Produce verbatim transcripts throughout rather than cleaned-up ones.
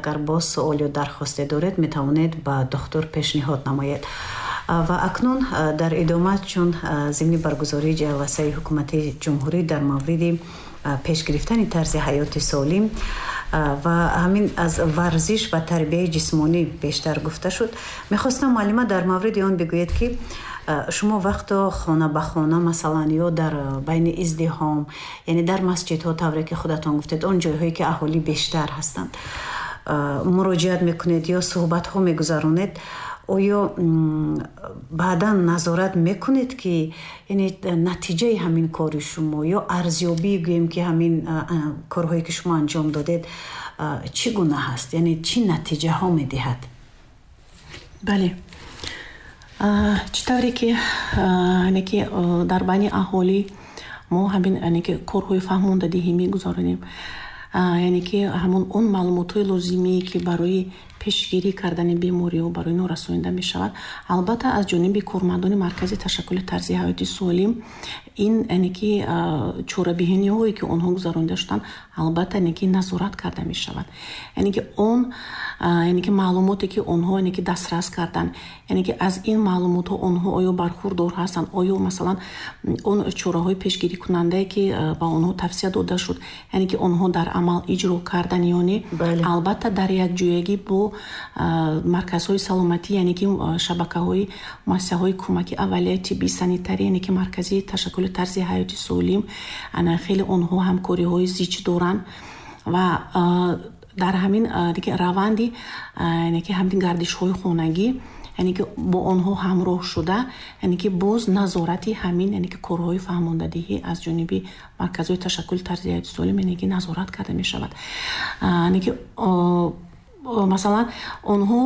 Агар боз суол ё дархосте доред, метавонед ба духтур пешниҳод намоед. Ва акнун дар идома, чун зимни баргузории ҷаласаи ҳукумати ҷумҳурӣ дар мавриди пеш гирифтани тарзи ҳаёти солим ва ҳамин аз варзиш ва тарбияи ҷисмонӣ бештар гуфта шуд, мехостам, муаллима, дар мавриди он бигӯед, ки шумо вақто хона ба хона, масалан, ё дар байни издиҳом, яъне дар масҷидҳо, тавре ки худатон гуфтед, он ҷойҳое ки аҳолӣ бештар ҳастанд, муроҷиат мекунед ё суҳбатҳо мегузаронед, оё баъдан назорат мекунед, ки яъне натиҷаи ҳамин кори шумо ё арзёбӣ гӯем, ки ҳамин корҳое ки шумо анҷом додед, чӣ гуна ҳаст, яъне чӣ натиҷаҳо медиҳад? Бале, чӣ тавре ки яъне ки дар байни аҳолӣ мо ҳамин яъне ки корҳои фаҳмондадиҳӣ мегузаронем, яъне ки ҳамон он маълумотҳои лозимие, ки барои пешгирӣ кардани бемориҳо барои инҳо расонида мешавад, албатта, аз ҷониби кормандони маркази ташаккули тарзи ҳаёти солим ин яъне ки чорабиниҳое, ки онҳо гузаронида шуданд, албатта, яъне ки назорат карда мешавад. Яъне ки он яъне ки маълумоте, ки онҳо яъне ки дастрас карданд, яъне ки аз ин маълумотҳо онҳо оё бархурдор ҳастанд, оё, масалан, он чораҳои пешгирикунандае, ки ба онҳо тавсия дода шуд, яъне ки онҳо дар амал иҷро кардан ё не. Албатта, дар якҷоягӣ бо марказҳои саломатӣ, яъне ки шабакаҳои муассисаҳои кӯмаки аввалияи тиббӣ санитарӣ, яъне ки маркази ташаккули тарзи ҳаёти солим, ана хеле онҳо ҳамкориҳои зич доранд ва дар ҳамин раванди яъне ки ҳамин гардишҳои хонагӣ, яъне ки бо онҳо ҳамроҳ шуда, яъне ки боз назорати ҳамин яъне ки корҳои фаҳмондадиҳӣ аз ҷониби марказҳои ташаккули тарзи ҳаёти солим яъне ки назорат карда мешавад. Яъне ки, масалан, онҳо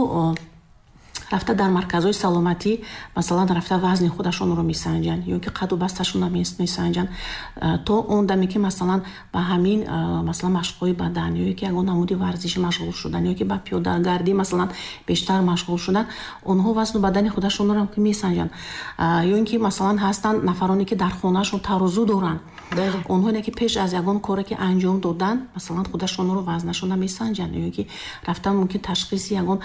рафта дар марказҳои саломатӣ, масалан, рафта вазни худашонро месанҷанд ё ки қаду басташонро месанҷанд, то он даме ки, масалан, ба ҳамин, масалан, машқҳои бадан ё ки ягон намуди варзиши машғул шудан ё ки ба пиёдагардӣ, масалан, бештар машғул шудан, онҳо вазну бадани худашонро месанҷанд. Ё ин ки, масалан, ҳастанд нафароне, ки дар хонаашон тарозу доранд. Онҳо ки пеш аз ягон коре ки анҷом додан, масалан, худашонро, вазнашонро месанҷанд ё ки рафтан мумкин ташхиси ягон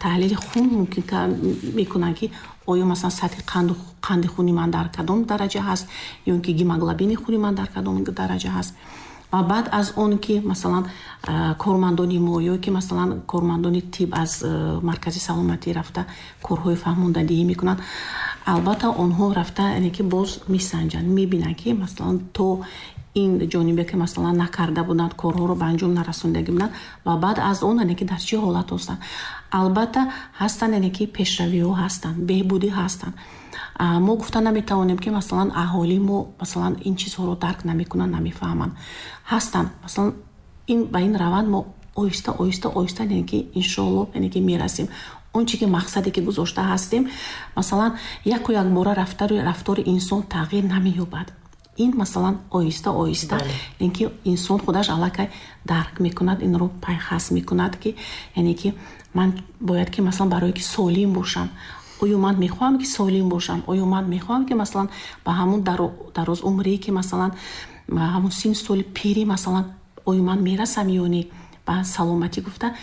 таҳлили хун мумкин мекунанд, ки оё, масалан, сатҳи қанди хуни ман дар кадом дараҷа ҳаст ё ин ки гемоглобини хуни ман дар кадом дараҷа ҳаст. Ва баъд аз он ки, масалан, кормандони мо ё ки, масалан, кормандони тиб аз маркази саломатӣ рафта корҳои фаҳмондадиҳӣ мекунанд, албатта, онҳо рафта яъне ки боз месанҷанд, мебинанд, ки, масалан, то ин ҷонибе ки, масалан, накарда буданд, корҳоро ба анҷом нарасондагӣ буданд ва баъд аз он яъне ки дар чӣ ҳолат ҳастанд. Албатта, ҳастанд, яъне ки пешравиҳо ҳастанд, беҳбудӣ ҳастанд. Мо гуфта наметавонем, ки, масалан, аҳолии мо, масалан, ин чизҳоро дарк намекунанд, намефаҳманд. Ҳастанд, масалан, ин ба ин раванд мо оҳиста, оҳиста, оҳиста, яъне ки иншоалло, яъне ки мерасем он чи ки мақсаде ки гузошта ҳастем. Масалан, яку якбора рафтори инсон тағйир намеёбад. Ин, масалан, оҳиста, оҳиста, яъне ки инсон худаш аллакай дарк мекунад, инро пайхас мекунад, ки яъне ки ман бояд ки, масалан, барое ки солим бошам, оё ман мехоҳам ки солим бошам, оё ман мехоҳам ки, масалан, ба ҳамун дарозумрӣ, ки, масалан, ҳамун синну соли пирӣ, масалан, оё ман мерасам ё не ба саломатӣ гуфта.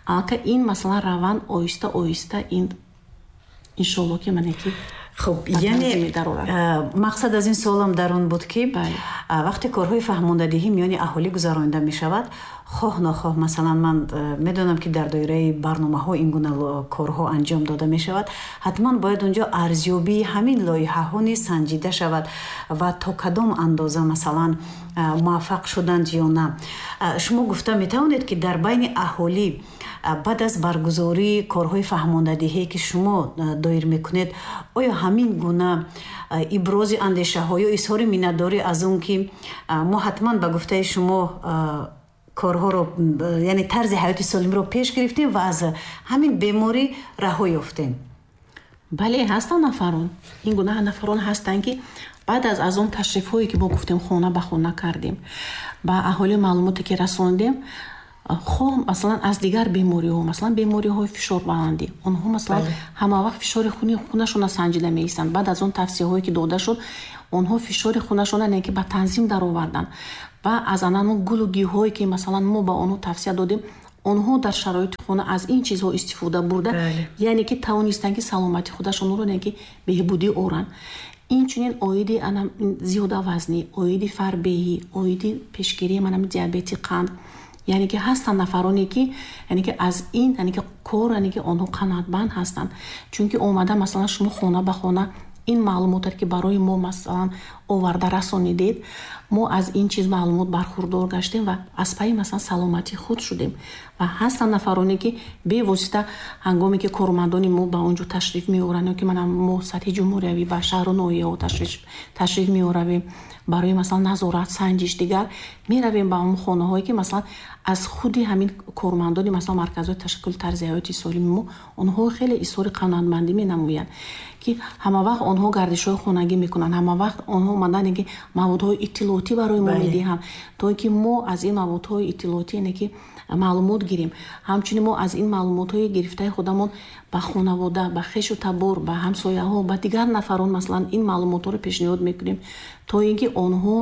Аллакай ин, масалан, раванд оҳиста, оҳиста ин иншоалло ки мане ки Хуб, яъне мақсад аз ин суолам дар он буд, ки вақте корҳои фаҳмондадиҳӣ миёни аҳолӣ гузаронида мешавад, хоҳ нохоҳ, масалан, ман медонам, ки дар доираи барномаҳо ин гуна корҳо анҷом дода мешавад, ҳатман бояд онҷо арзёбии ҳамин лоиҳаҳо низ санҷида шавад ва то кадом андоза, масалан, муваффақ шуданд ё на. Шумо гуфта метавонед, ки дар байни аҳолӣ баъд аз баргузории корҳои фаҳмондадиҳие, ки шумо доир мекунед, оё ҳамин гуна ибрози андешаҳо ё изҳори миннатдорӣ аз он ки мо ҳатман ба гуфтаи шумо корҳоро, яъне тарзи ҳаёти солимро пеш гирифтем ва аз ҳамин беморӣ раҳо ёфтем? Бале, ҳастанд нафарон, ин гуна нафарон ҳастанд, ки баъд аз аз он ташрифҳое, ки мо гуфтем, хона ба хона кардем, ба аҳолӣ маълумоте ки расондем, хоҳ, масалан, аз дигар бемориҳо, масалан, бемориҳои фишорбаландӣ, онҳо, масалан, ҳама вақт фишори хуни хунашонро санҷида меистанд. Баъд аз он тавсияҳое, ки дода шуд, онҳо фишори хунашонро яъне ки ба танзим дароварданд ва аз анано гулу гиёҳое, ки, масалан, мо ба онҳо тавсия додем, Онҳо дар шароити хона аз ин чизҳо истифода бурда, яъне ки тавонистанд ки саломатии худашонро яъне ки беҳбудӣ оранд. Инчунин оиди зиёдавазнӣ, оиди фарбеҳӣ, оиди пешгирии манам диабети қанд, яъне ки ҳастанд нафароне ки яъне ки аз ин яъне ки кор яъне ки онҳо қаноатманд ҳастанд. Чунки омада масалан шумо хона ба хона ин маълумотро ки барои мо масалан оварда расонидед, мо аз ин чиз маълумот бархурдор гаштем ва аз пайи масалан саломатии худ шудем. Ва ҳастанд нафароне ки бевосита ҳангоме ки кормандони мо ба он ҷо ташриф меоранд ё ки манам мо сатҳи ҷумҳуриявӣ ба шаҳру ноҳияҳо ташриф меоравем барои масалан назорат, санҷиш дигар, меравем ба он хонаҳое ки масалан аз худи ҳамин кормандони масалан марказҳои ташаккули тарзи ҳаёти солими мо онҳо хеле изҳори қаноатмандӣ менамоянд ки ҳама вақт онҳо гардишҳои хонагӣ мекунанд, ҳама вақт онҳо омадан ки маводҳои иттилоотӣ барои мо медиҳанд то ин ки мо аз ин маводҳои иттилоотӣ яъне ки маълумот гирем. Ҳамчунин мо аз ин маълумотҳои гирифтаи худамон ба хонавода, ба хешу табор, ба ҳамсояҳо, ба дигар нафарон масалан ин маълумотҳоро пешниҳод мекунем то ин ки онҳо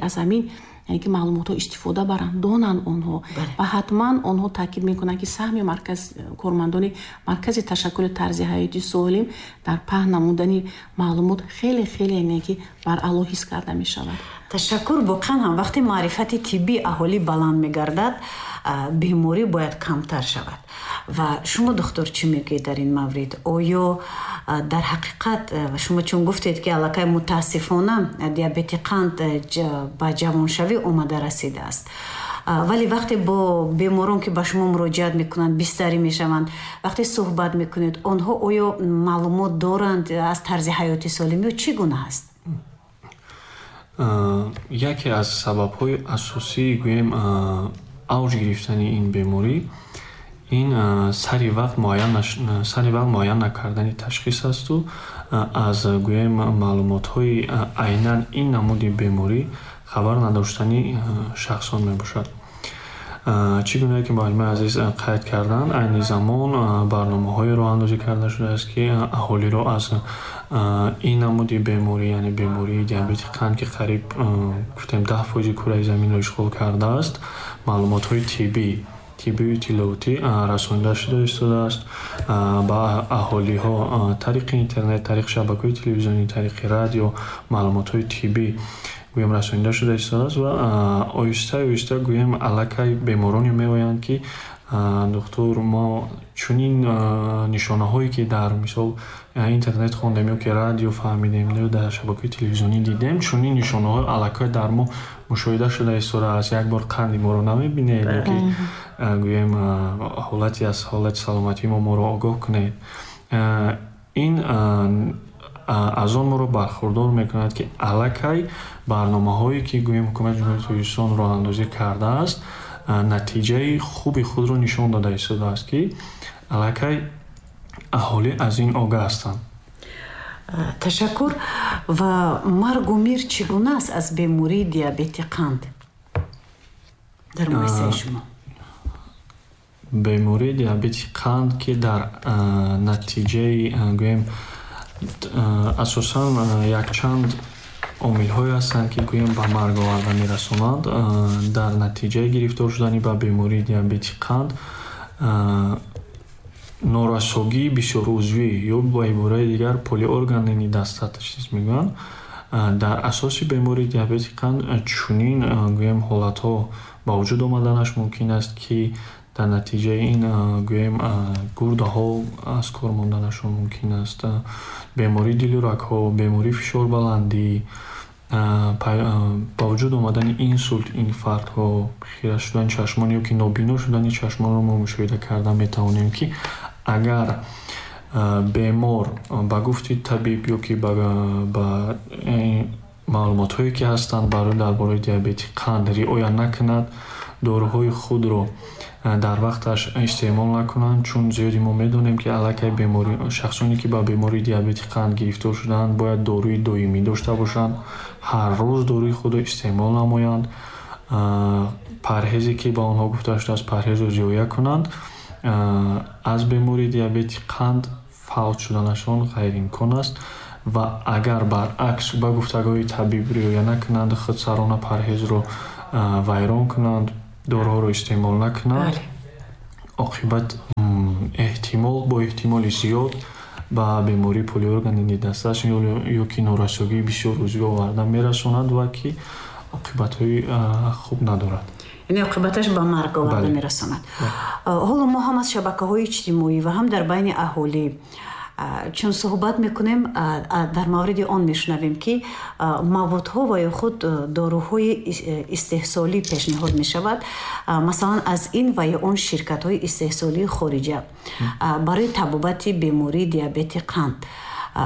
аз ҳамин яъне ки маълумотҳо истифода баранд, донанд онҳо. Ва ҳатман онҳо таъкид мекунанд ки саҳми марказ кормандони маркази ташаккули тарзи ҳаёти солим дар паҳн намудани маълумот хеле хеле яъне ки баръало ҳис карда мешавад. Ташаккур. Воқеан ҳам вақте маърифати тиббии аҳолӣ баланд мегардад, беморӣ бояд камтар шавад. Ва шумо духтур чӣ мегӯед дар ин маврид? Оё дар ҳақиқат шумо чун гуфтед ки аллакай мутаассифона диабети қанд ба ҷавоншавӣ омада расидааст, вале вақте бо беморон ки ба шумо муроҷиат мекунанд, бистарӣ мешаванд, вақте суҳбат мекунед, онҳо оё маълумот доранд аз тарзи ҳаёти солим ё чӣ гуна аст? Яке аз сабабҳои асосии гӯем авҷ гирифтани ин беморӣ ин сари вақт муайян сари вақт муайян накардани ташхис асту аз гӯем маълумотҳои айнан ин намуди беморӣ хабар надоштани шахсон мебошад. Чӣ гунае ки муаллимаи азиз қайд карданд, айни замон барномаҳое роҳандозӣ карда шудааст ки аҳолиро аз ин намуди беморӣ, яъне бемории диабети қанд ки қариб гуфтем даҳ фоизи кураи заминро ишғол кардааст, маълумотҳои тиббӣ тиббию иттилоотӣ расонида шуда истодааст ба аҳолиҳо тариқи интернет, тариқи шабакаҳои телевизионӣ, тариқи радио маълумотҳои тиббӣ гӯем расонида шуда истодааст ва оҳиста оҳиста гӯем аллакай бемороне меоянд ки духтур, мо чунин нишонаҳое ки дар мисол интернет хондем ё ки радио фаҳмидем ё дар шабакаҳои телевизионӣ дидем, чунин нишонаҳо аллакай дар мо мушоҳида шуда истодааст. Як бор қанди моро намебинед ё ки гӯем ҳолати аз ҳолати саломатии мо моро огоҳ кунед. Ин аз он моро бархурдор мекунад ки аллакай барномаҳое ки гӯем ҳукумати Ҷумҳурии Тоҷикистон роҳандозӣ кардааст, натиҷаи хуби худро нишон дода истодааст ки аллакай аҳолӣ аз ин огаҳ ҳастанд. Ташаккур. Ва маргу мир чӣ гуна аст аз бемории диабети қанд дар муассисаи шумо? Бемории диабети қанд ки дар натиҷаи гӯем асосан якчанд омилҳое ҳастанд ки гӯем ба марг оварда мерасонанд. Дар натиҷаи гирифтор шудани ба бемории диабети қанд норасогии бисёрузвӣ ё ба ибораи дигар полиорганный недостаточность мегӯянд. Дар асоси бемории диабети қанд чунин гӯем ҳолатҳо ба вуҷуд омаданаш мумкин аст ки дар натиҷаи ин гӯем гурдаҳо аз кор монданашон мумкин аст, бемории дилу рагҳо, бемории фишорбаландӣ, ба вуҷуд омадани инсулт, инфарктҳо, хира шудани чашмон ё ки нобино шудани чашмонро мо мушоҳида карда метавонем ки агар бемор ба гуфти табиб ё ки ба маълумотҳое ки ҳастанд барои дар бораи диабети қанд риоя накунад, доруҳои худро дар вақташ истеъмол накунанд, чун зиёди мо медонем ки аллакай беморӣ шахсоне ки ба бемории диабети қанд гирифтор шудаанд бояд доруи доимӣ дошта бошанд, ҳар рӯз доруи худро истеъмол намоянд, парҳезе ки ба онҳо гуфта шудааст парҳезро риоя кунанд. Аз бемории диабети қанд фавт шуданашон ғайриимкон аст ва агар баръакс ба гуфтагоҳи табиб риоя накунанд, худсарона парҳезро вайрон кунанд, доруҳоро истеъмол накунанд, Оқибат эҳтимол бо эҳтимоли зиёд ба бемории полиоргани недостаточный ё ки норасогии бисёр узвӣ оварда мерасонад ва ки оқибатҳои хуб надорад. Яъне оқибаташ ба марг оварда мерасонад. Ҳоло мо ҳам аз шабакаҳои иҷтимоӣ ва ҳам дар байни аҳолӣ чун суҳбат мекунем, дар мавриди он мешунавем, ки маводҳо ва ё худ доруҳои истеҳсолӣ пешниҳод мешавад, масалан аз ин ва ё он ширкатҳои истеҳсолии хориҷа барои табобати бемории диабети қанд.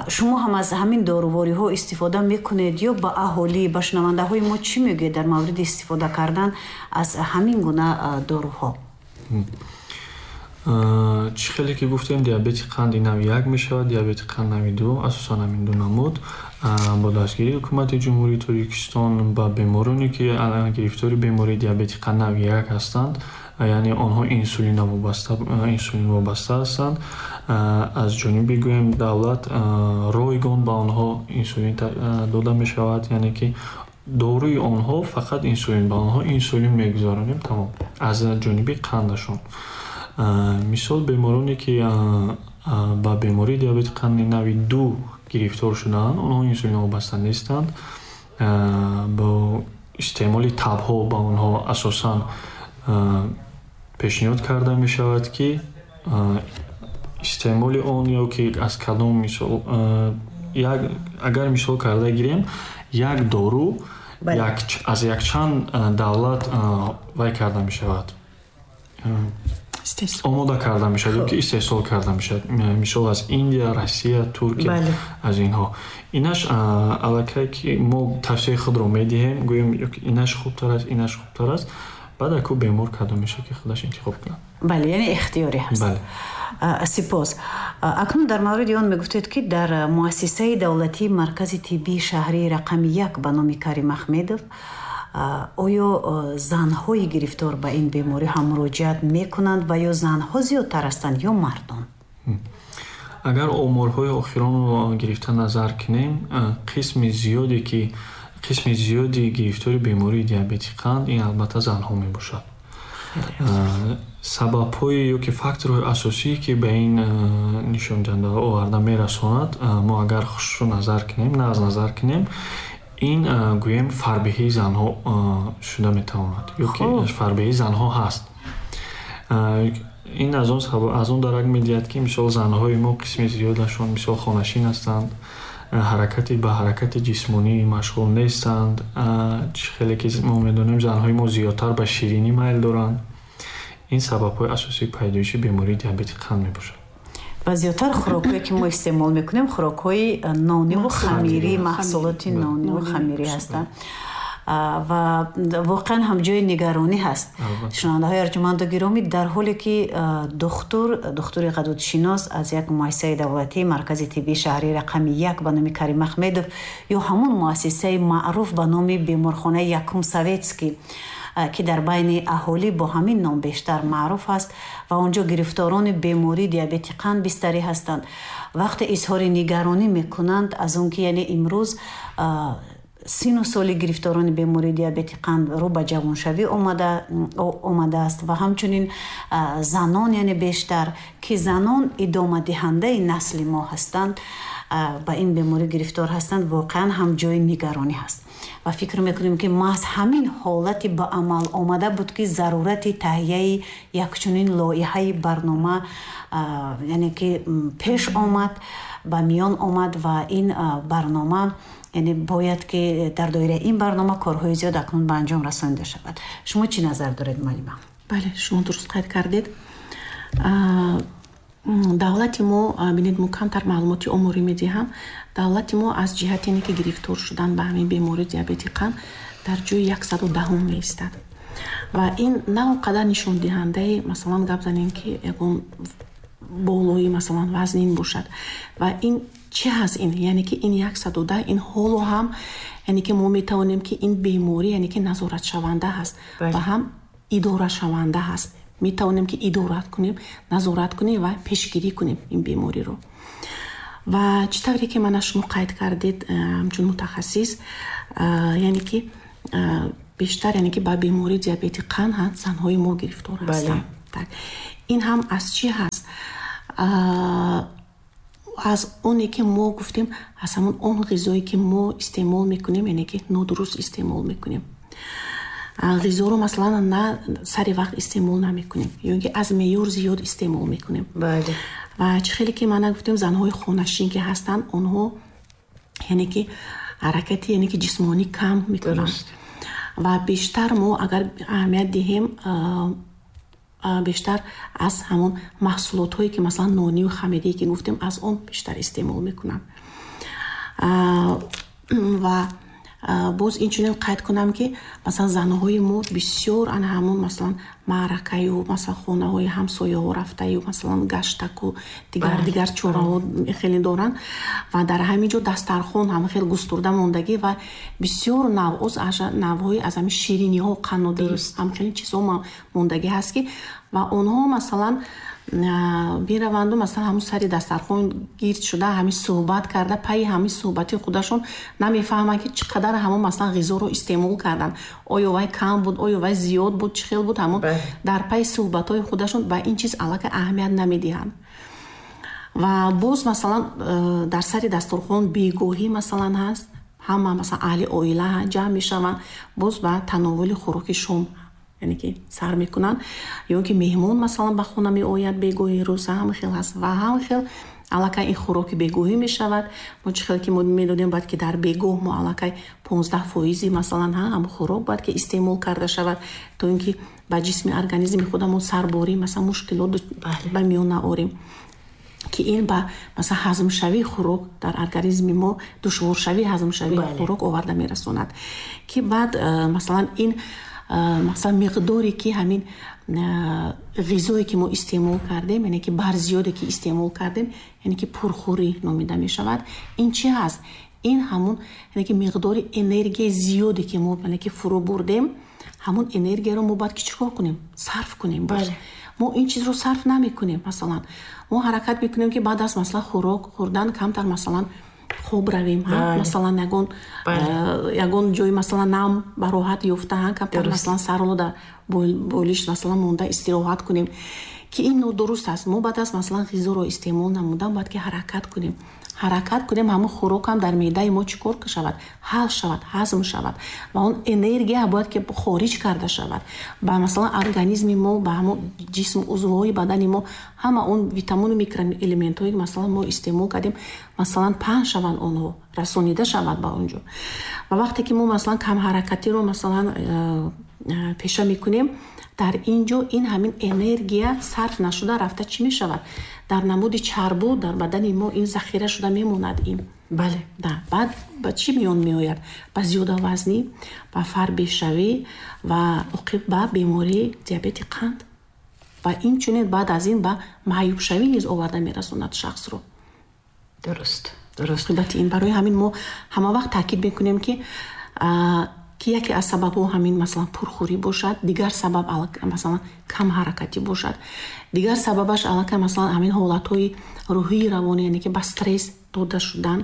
Шумо ҳам аз ҳамин дорувориҳо истифода мекунед ё ба аҳолӣ, ба шунавандаҳои мо чӣ мегӯед дар мавриди истифода кардан аз ҳамин гуна доруҳо? Чӣ хеле ки гуфтем, диабети қанди нави як мешавад, диабети қанд нави ду, асосан ҳамин ду намуд. Бо дастгирии ҳукумати Ҷумҳурии Тоҷикистон ба бемороне, ки гирифтори бемории диабети қанд нави як ҳастанд, яъне онҳо инсулин вобаста ҳастанд, аз ҷониби гӯем давлат ройгон ба онҳо инсулин дода мешавад, яъне ки доруи онҳо фақат инсулин, ба онҳо инсулин мегузаронем, тамом, аз ҷониби қандашон. Мисол, бемороне ки ба бемории диабети қанди нави ду гирифтор шудаанд, онҳо инсулин вобаста нестанд. Бо истеъмоли табҳо ба онҳо асосан пешниҳод карда мешавад, ки истеъмоли он ё ки аз кадом мисол, агар мисол карда гирем, як дору аз якчанд давлат вай карда мешавад, омода карда мешавад ё ки истеҳсол карда мешавад, мисол аз Индия, Россия, Туркия, аз инҳо. Инаш аллакай ки мо тавсияи худро медиҳем, гӯем инаш хубтар аст, инаш хубтар аст, баъд аку бемор кадом мешавад ки худаш интихоб кунад. Бале, яъне ихтиёрӣ ҳаст. Сипос. Акнун дар мавриди он мегуфтед, ки дар муассисаи давлатии Маркази тиббии шаҳрии рақами як ба номи Карим Ахмедов оё занҳои гирифтор ба ин беморӣ ҳам муроҷиат мекунанд ва ё занҳо зиёдтар ҳастанд ё мардон? Агар оморҳои охиронро гирифта назар кунем, қисми зиёде ки қисми зиёди гирифтори бемории диабети қанд ин албатта занҳо мебошад. Сабабҳои ё ки факторҳои асосие ки ба ин нишондиҳандаҳо оварда мерасонад, мо агар хушрӯ назар кунем, нағз назар кунем, ин гӯем фарбеҳии занҳо шуда метавонад ё ки фарбеҳии занҳо ҳаст. Ин аз он аз он дарак медиҳад, ки мисол занҳои мо қисми зиёдашон мисол хонашин ҳастанд, ҳаракати ба ҳаракати ҷисмонӣ машғул нестанд. Чӣ хеле ки мо медонем, занҳои мо зиёдтар ба ширинӣ майл доранд. Ин сабабҳои асосии пайдоиши бемории диабети қанд мебошад. Ва зиёдтар хӯрокҳое ки мо истеъмол мекунем, хӯрокҳои нониву хамирӣ, маҳсулоти нониву хамирӣ ҳастанд. Ва воқеан ҳам ҷои нигаронӣ ҳаст. Шунавандаҳои арҷуманду гиромӣ, дар ҳоле ки духтур, духтури ғадудшинос аз як муассисаи давлатии Маркази тиббии шаҳрии рақами як ба номи Карим Ахмедов ё ҳамон муассисаи маъруф ба номи беморхонаи якум Советский, ки дар байни аҳолӣ бо ҳамин ном бештар маъруф аст ва онҷо гирифторони бемории диабети қанд бистарӣ ҳастанд, вақте изҳори нигаронӣ мекунанд аз он ки яъне имрӯз сину соли гирифторони бемории диабети қанд рӯ ба ҷавоншавӣ омадааст ва ҳамчунин занон, яъне бештар ки занон идомадиҳандаи насли мо ҳастанд, ба ин беморӣ гирифтор ҳастанд, воқеан ҳам ҷои нигаронӣ ҳаст. Ва фикр мекунем, ки маҳз ҳамин ҳолати ба амал омада буд, ки зарурати таҳияи якчунин лоиҳаи барнома яъне ки пеш омад, ба миён омад ва ин барнома яъне бояд ки дар доираи ин барнома корҳои зиёд акнун ба анҷом расонида шавад. Шумо чӣ назар доред, муаллима? Бале, шумо дуруст қайд кардед. Давлати мо, бинед, мо камтар маълумоти оморӣ медиҳам. Давлати мо аз ҷиҳати ине ки гирифтор шудан ба ҳамин бемории диабети қанд дар ҷои яксаду даҳум меистад ва ин на он қадар нишондиҳандаи, масалан, гап занем, ки ягон болои, масалан, вазнин бошад. Ва ин чӣ ҳаст ин? Яъне ки ин яксаду даҳ, ин ҳоло ҳам, яъне ки мо метавонем, ки ин беморӣ, яъне ки назоратшаванда ҳаст ва ҳам идорашаванда ҳаст. Метавонем, ки идора кунем, назорат кунем ва пешгирӣ кунем ин бемориро. Ва чӣ тавре ки мана шумо қайд кардед, ҳамчун мутахассис, яъне ки бештар, яъне ки ба бемории диабети қанд занҳои мо гирифтор ҳастанд. Ин ҳам аз чӣ ҳаст? Аз оне ки мо гуфтем, аз ҳамон он ғизое ки мо истеъмол мекунем, яъне ки нодуруст истеъмол мекунем. Ғизоро масалан на сари вақт истеъмол намекунем ё ин ки аз меъёр зиёд истеъмол мекунем. Бале. Ва чӣ хеле ки мана гуфтем, занҳои хонашин ки ҳастанд, онҳо яъне ки ҳаракати яъне ки ҷисмонӣ кам мекунанд. Ва бештар мо агар аҳамият диҳем, бештар аз ҳамон маҳсулотҳое ки масалан нонию хамидие ки гуфтем, аз он бештар истеъмол мекунанд. Ва боз инчунин қайд кунам ки масалан занҳои мо бисёр ана ҳамон масалан маъракаю масалан хонаҳои ҳамсояҳо рафтаю масалан гаштаку дигар дигар чораҳо хеле доранд ва дар ҳамин ҷо дастархон ҳама хеле густурда мондагӣ ва бисёр навъоз навъҳои аз ҳамин шириниҳо, қаннодӣ ҳам хеле чизҳо мондагӣ ҳаст ки ва онҳо масалан мераванду масалан ҳамун сари дастархон гирд шуда ҳамин суҳбат карда, пайи ҳамин суҳбати худашон намефаҳманд ки чӣ қадар ҳамон масалан ғизоро истеъмол карданд, оё вай кам буд, оё вай зиёд буд, чӣ хел буд, ҳамон дар пайи суҳбатҳои худашон ба ин чиз аллакай аҳамият намедиҳанд. Ва боз масалан дар сари дастархон бегоҳӣ масалан ҳаст, ҳама масалан аҳли оила ҷамъ мешаванд, боз ба тановули хӯроки шом яъне ки сар мекунанд, ё ин ки меҳмон масалан ба хона меояд бегоҳи рӯз, ҳам хел ҳаст ва ҳам хел аллакай ин хӯроки бегоҳӣ мешавад. Мо чӣ хел ки мо медонем, бояд ки дар бегоҳ мо аллакай понздаҳ фоизи масалан ҳам хӯрок бояд ки истеъмол карда шавад, то ин ки ба ҷисми организми худамон сарборӣ масалан мушкилот ба миён наорем, ки ин ба масалан ҳазмшавии хӯрок дар организми мо, душворшавии ҳазмшавии хӯрок оварда мерасонад, ки баъд масалан ин масалан миқдоре ки ҳамин ғизое ки мо истеъмол кардем, яъне ки барзиёде ки истеъмол кардем, яъне ки пурхӯрӣ номида мешавад. Ин чӣ ҳаст? Ин ҳамон яъне ки миқдори энергияи зиёде ки мо яъне ки фурӯ бурдем, ҳамон энергияро мо бояд ки чӣ кор кунем? Сарф кунем. Боз мо ин чизро сарф намекунем. Масалан мо ҳаракат мекунем ки баъд аз масалан хӯрок хӯрдан камтар масалан хоб равем, масалан ягон ягон ҷои масалан нам ба роҳат ёфта, камтар масалан сарро дар болиш масалан монда истироҳат кунем, ки ин нодуруст аст. Мо баъд аз масалан ғизоро истеъмол намудан бояд ки ҳаракат кунем. Ҳаракат кунем, ҳамон хӯрок ҳам дар меъдаи мо чӣ кор шавад? Ҳал шавад, ҳазм шавад ва он энергия бояд ки хориҷ карда шавад. Ба масалан организми мо, ба ҳамон ҷисм, узвҳои бадани мо ҳама он витамину микроэлементҳое ки масалан мо истеъмол кардем, масалан паҳн шаванд, онҳо расонида шавад ба он ҷо. Ва вақте ки мо масалан камҳаракатиро масалан пеша мекунем, дар ин ҷо ин ҳамин энергия сарф нашуда рафта чӣ мешавад? Дар намуди чарбу дар бадани мо ин захира шуда мемонад. Ин бале, да, баъд ба чӣ миён меояд? Ба зиёдавазнӣ, ба фарбешавӣ ва оқиб ба бемории диабети қанд ва инчунин баъд аз ин ба маъюбшавӣ низ оварда мерасонад шахсро. Дуруст, дуруст. Оқибати ин барои ҳамин мо ҳама вақт таъкид мекунем ки ки яке аз сабабҳо ҳамин масалан пурхӯрӣ бошад, дигар сабаб масалан камҳаракатӣ бошад, дигар сабабаш аллакай масалан ҳамин ҳолатҳои рӯҳии равонӣ, яъне ки ба стресс дода шудан.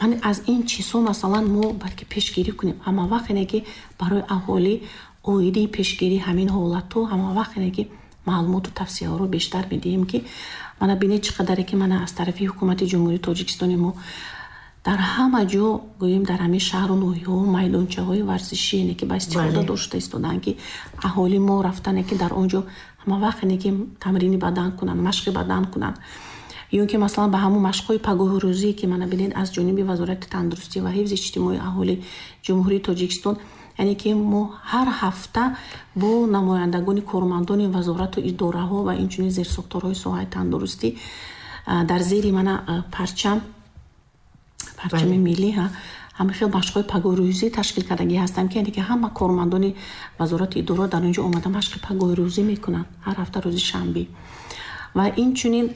Ман аз ин чизҳо масалан мо бояд ки пешгирӣ кунем. Ҳама вақт яъне ки барои аҳолӣ оиди пешгирии ҳамин ҳолатҳо ҳама вақт яъне ки маълумоту тавсияҳоро бештар медиҳем, ки мана бинед чӣ қадаре ки мана аз тарафи ҳукумати Ҷумҳурии Тоҷикистони мо дар ҳама ҷо гӯем дар ҳамин шаҳру ноҳияҳо майдончаҳои варзишӣ яъне ки ба истифода дошта истодаанд, ки аҳоли мо рафтане ки дар он ҷо ҳама вақт яъне ки тамрини бадан кунанд, машқи бадан кунанд, ё ин ки масалан ба ҳамон машқҳои пагоҳирӯзӣ ки мана бинед аз ҷониби Вазорати тандурустӣ ва ҳифзи иҷтимоии аҳолии Ҷумҳурии Тоҷикистон, яъне ки мо ҳар ҳафта бо намояндагони кормандони вазорату идораҳо ва инчунин зерсохторҳои соҳаи тандурустӣ дар зери мана парчам, парчами миллӣ ҳама хел машқҳои пагоҳирӯзӣ ташкил кардагӣ ҳастанд, ки яъне ки ҳама кормандони вазорати идора дар он ҷо омада машқи пагоҳирӯзӣ мекунанд ҳар ҳафта рӯзи шанбе. Ва инчунин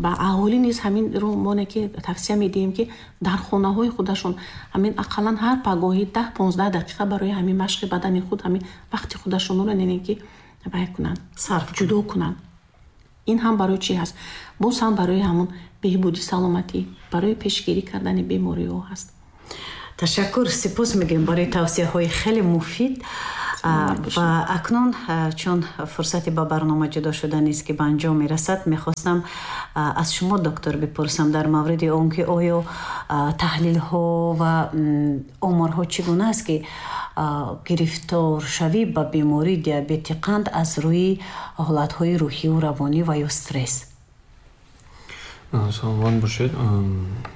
ба аҳолӣ низ ҳаминро мо ки тавсия медиҳем, ки дар хонаҳои худашон ҳамин ақаллан ҳар пагоҳӣ даҳ понздаҳ дақиқа барои ҳамин машқи бадани худ ҳамин вақти худашонро яъне ки вай кунанд, сарф ҷудо кунанд. Ин ҳам барои чӣ ҳаст? Боз ҳам барои ҳамон беҳбуди саломатӣ, барои пешгирӣ кардани бемориҳо ҳаст. Ташаккур, сипос мегӯем барои тавсияҳои хеле муфид. Ва акнун чун фурсати ба барнома ҷудо шуда нест ки ба анҷом мерасад, мехостам аз шумо доктор бипурсам дар мавриди он ки оё таҳлилҳо ва оморҳо чӣ гуна аст ки гирифторшавӣ ба бемории диабети қанд аз рӯи ҳолатҳои рӯҳиву равонӣ ва ё стресс. Саломат бошед.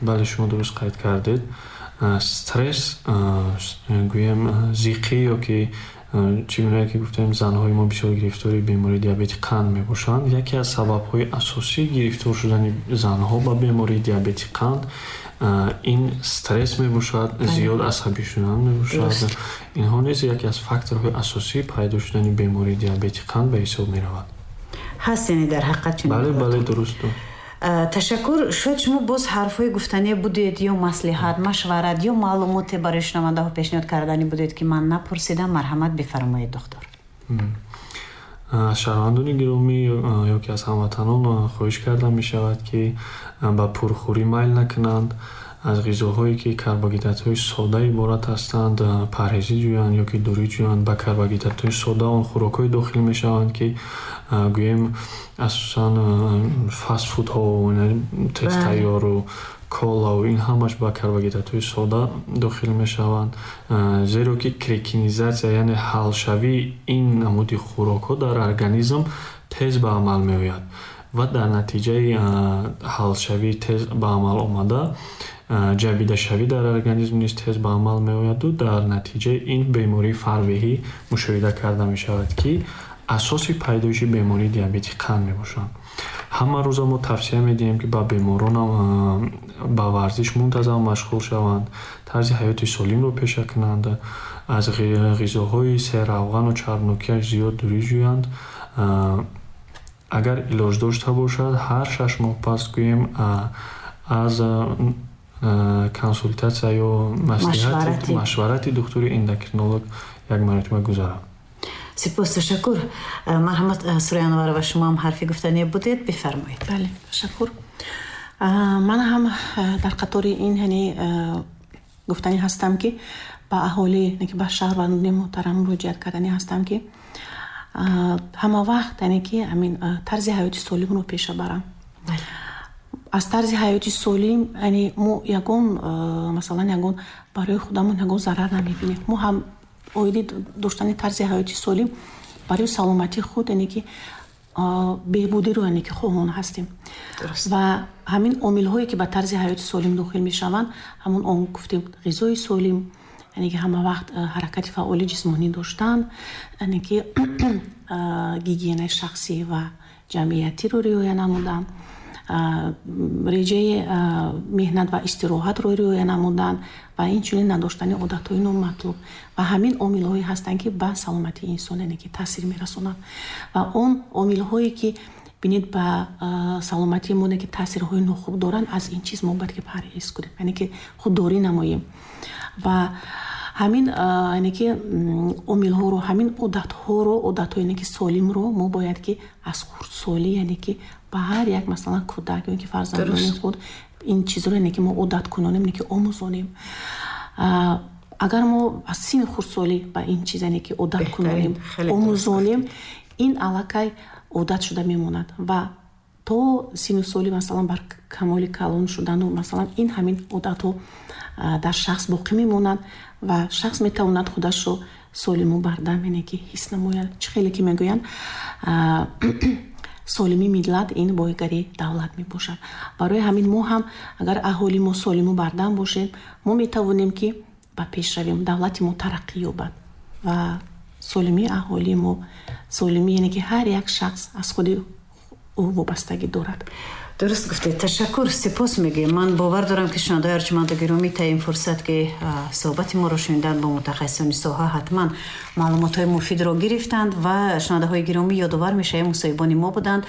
Бале, шумо дуруст қайд кардед. Стресс, гӯем зиқӣ ё ки чӣ гуна ки гуфтем, занҳои мо бисёр гирифтори бемории диабети қанд мебошанд. Яке аз сабабҳои асосии гирифтор шудани занҳо ба бемории диабети қанд ин стресс мебошад, зиёд асабӣ шудан мебошад. Инҳо низ яке аз факторҳои асосии пайдо шудани бемории диабети қанд ба ҳисоб меравад. Ҳаст, яъне дар ҳақиқат чунин? Бале, бале, дуруст. Ташаккур. Шояд шумо боз ҳарфҳои гуфтание будед ё маслиҳат, машварат ё маълумоте барои шунавандаҳо пешниҳод кардани будед ки ман напурсидам, марҳамат бифармоед, доктор. Аз шаҳрвандони гиромӣ ё ки аз ҳамватанон хоҳиш карда мешавад ки ба пурхӯрӣ майл накунанд, аз ғизоҳое ки карбогидратҳои сода иборат ҳастанд парҳезӣ ҷӯянд ё ки дурӣ ҷӯянд. Ба карбогидратҳои сода он хӯрокҳое дохил мешаванд ки гӯем асосан фастфудҳо, тезтайёру колаву ин ҳамаш ба карбогидратҳои сода дохил мешаванд, зеро ки крекинизатсия, яъне ҳалшавии ин намуди хӯрокҳо дар организм тез ба амал меояд ва дар натиҷаи ҳалшавии тез ба амал омада ҷабидашавӣ дар организм низ тез ба амал меояду дар натиҷаи ин бемории фарбеҳӣ мушоҳида карда мешавад ки асоси пайдоиши бемории диабети қанд мебошанд. Ҳама рӯза мо тавсия медиҳем ки ба беморонам ба варзиш мунтазам машғул шаванд, тарзи ҳаёти солимро пеша кунанд, аз ғизоҳои серравғану чарбнокиаш зиёд дурӣ ҷӯянд. Агар илоҷ дошта бошад, ҳар шаш моҳ пас гӯем аз консултатсия ё маслиҳати машварати духтури эндокринолог як маротиба гузарад. Сипос, ташаккур. Марҳамат, Сурайё Анварова, шумо ҳам ҳарфи гуфтание будед, бифармоед. Бале, ташаккур. Ман ҳам дар қатори ин яъне гуфтанӣ ҳастам ки ба аҳолӣ, ба шаҳрвандони муҳтарам муроҷиат карданӣ ҳастам ки ҳама вақт яъне ки ҳамин тарзи ҳаёти солимро пеша барам. Аз тарзи ҳаёти солим яъне мо ягон масалан ягон барои худамон ягон зарар намебинем. Мо ҳам оиди доштани тарзи ҳаёти солим барои саломатии худ яъне ки беҳбудиро яъне ки хоҳон ҳастем. Ва ҳамин омилҳое ки ба тарзи ҳаёти солим дохил мешаванд, ҳамон он гуфтем ғизои солим, яъне ки ҳама вақт ҳаракати фаъоли ҷисмонӣ доштан, яъне ки гигиенаи шахсӣ ва ҷамъиятиро риоя намудан, реҷаи меҳнат ва истироҳатро риоя намудан ва инчунин надоштани одатҳои номатлуб. Ва ҳамин омилҳое ҳастанд ки ба саломатии инсон яъне ки таъсир мерасонанд. Ва он омилҳое ки бинед ба саломатии мо ки таъсирҳои нохуб доранд, аз ин чиз мо бояд ки парҳез кунем, яъне ки худдорӣ намоем. Ва ҳамин яъне ки омилҳоро, ҳамин одатҳоро, одатҳои яъне ки солимро мо бояд ки аз хурдсолӣ яъне ки ба ҳар як масалан кӯдак ё ки фарзандони худ ин чизро яъне ки мо одат кунонем, яъне ки омӯзонем. Агар мо аз синни хурдсолӣ ба ин чиз яъне ки одат кунонем, омӯзонем, ин аллакай одат шуда мемонад ва то синну соли масалан бар камоли калон шудану масалан ин ҳамин одатҳо дар шахс боқӣ мемонанд ва шахс метавонад худашро солиму бардам яъне ки ҳис намояд. Чӣ хеле ки мегӯянд, солимии миллат ин боигарии давлат мебошад. Барои ҳамин мо ҳам агар аҳоли мо солиму бардам бошем, мо метавонем ки ба пеш равем, давлати мо тараққӣ ёбад ва солимии аҳолии мо, солимӣ яъне ки ҳар як шахс аз худи ӯ вобастагӣ дорад. Дуруст гуфтед, ташаккур, сипос мегӯем. Ман бовар дорам ки шунавандаҳои арҷманду гиромӣ та ин фурсат ки суҳбати моро шуниданд бо мутахассисони соҳа ҳатман маълумотҳои муфидро гирифтанд ва шунавандаҳои гиромӣ ёдовар мешавем мусоҳибони мо буданд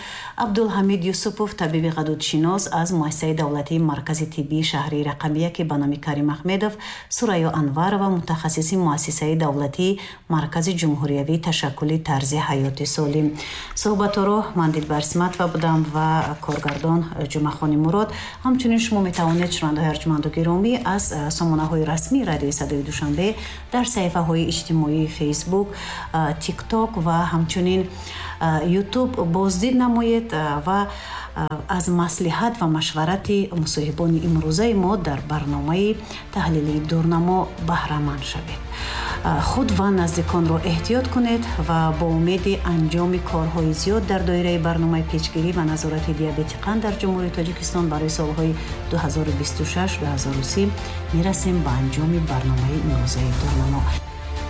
Абдулҳамид Юсупов, табиби ғадудшинос аз муассисаи давлатии маркази тиббии шаҳри рақами яке ба номи Карим Аҳмедов, Сурайё Анварова, мутахассиси муассисаи давлатии маркази ҷумҳуриявии ташаккули тарзи ҳаёти солим. Суҳбатҳоро ман Дилбар Симатова будам ва коргардон Ҷумъахони Мурод. Ҳамчунин шумо метавонед, шунавандаҳои арҷманду гиромӣ, аз сомонаҳои расмии Радиои Садои Душанбе дар саҳифаҳои иҷтимоии Фейсбук, Тикток ва ҳамчунин Ютуб боздид намоед ва аз маслиҳат ва машварати мусоҳибони имрӯзаи мо дар барномаи таҳлилии Дурнамо баҳраманд шавед. Худ ва наздиконро эҳтиёт кунед ва бо умеди анҷоми корҳои зиёд дар доираи барномаи пешгирӣ ва назорати диабети қанд дар Ҷумҳурии Тоҷикистон барои солҳои ду ҳазору бисту шаш ду ҳазору си мерасем ба анҷоми барномаи имрӯзаи Дурнамо.